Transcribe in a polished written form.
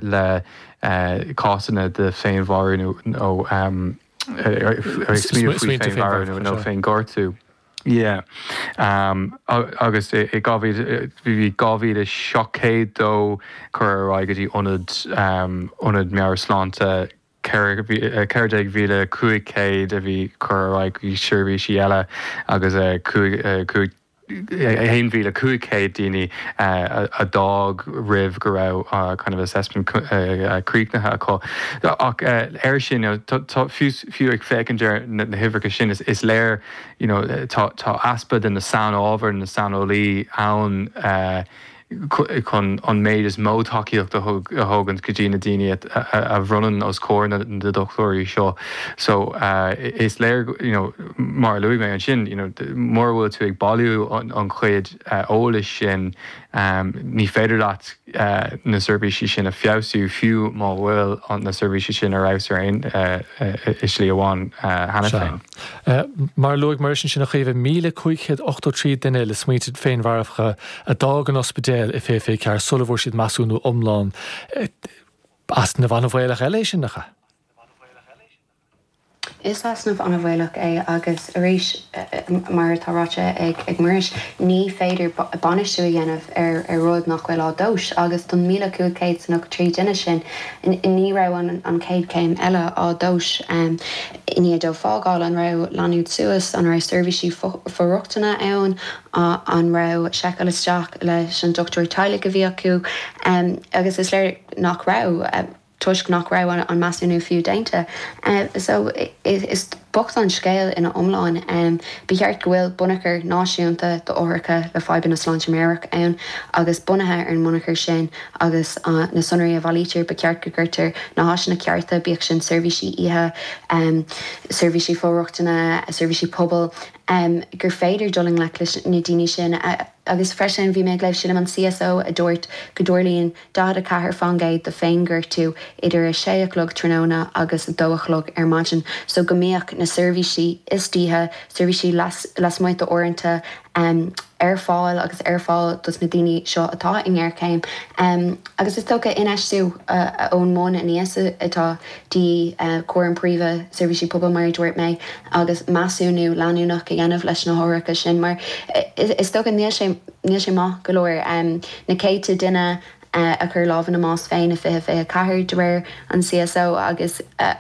láthair le cásanna de féinmharú nó ag smaoineamh faoi féinmharú nó féinghortú. Yeah. Agus i 2000, bhí 2,702 curtha ar aghaidh go dtí ionad, ionad meabhairshláinte, 14,500 a bhí curtha ar aghaidh go dtí seirbhísí eile agus 1,500 daoine a d'fhág roimh go raibh kind of assessment críochnaithe acu. Ach air sin, tá, fiú ag féachaint ar na huimhreacha sin, is léir, you know, tá easpa de na sainábhair, na saineolaí ann chun an méid is mó tacaíocht a thógaint go dtí na daoine a bhronnann os comhair na dochtúirí seo. So is léir, you know, mar a luaigh mé ansin, you know, mura bhfuil tú ag bailiú an chuid eolais sin, ní féidir leat na seirbhísí sin a feabhsú, fiú má bhfuil na seirbhísí sin ar fheabhas ar aon i slí amháin cheana féin. Mar a luaigh Muiris ansin, a Chaoimhe, 1,583 duine le smaointe féinmharfacha a d'fhág an ospidéal i 2024 sula bhfuair siad measúnú iomlán. Easnamh an-bhaolach eile é sin, nach ea? Is easnamh an-bhaolach é agus arís, mar atá ráite ag Muiris, ní féidir bainistiú a dhéanamh ar rud nach bhfuil á dtomhas agus don 1,593 duine sin, ní raibh an chéad chéim eile á dtomhas i ndiaidh dóibh fágáil, an raibh leanúint suas, an raibh seirbhísí for-rochtana ann, an raibh seiceáil isteach leis an dochtúir teaghlaigh a bhí acu agus is léir nach raibh. toisc nach raibh an measúnú fiú déanta. So, is bocht an scéal ina iomlán. Ba cheart go bhfuil bunachar náisiúnta d'othracha le fadhbanna sláinte meabhrach ann agus bunaithe ar an mbunachar sin agus na sonraí a bhailítear, ba cheart go gcuirtear na háiseanna cearta, bíodh sin seirbhísí oíche, seirbhísí for-rochtana, seirbhísí pobail, gur féidir dul i ngleic leis na daoine sin. Agus freisin, bhí mé ag léamh, sílim, an CSO a dúirt go dtarlaíonn 44% de féinghortú idir 6 a chlog tráthnóna agus 2 a chlog ar maidin, so go mbeadh na seirbhísí istoíche, seirbhísí lasmuigh d'uaireanta ar fáil agus ar fáil dos na daoine seo atá i ngéarchéim. Agus is dócha infheistiú ón mbun aníos atá de dhíth, cúram príomha, seirbhísí pobail mar a dúirt mé, agus measúnú leanúnach a dhéanamh leis na hothracha sin mar is dócha níl sé, níl sé maith go leor. Na céadta duine a chuir lámh ina mbás féin i 2024 de réir an CSO agus.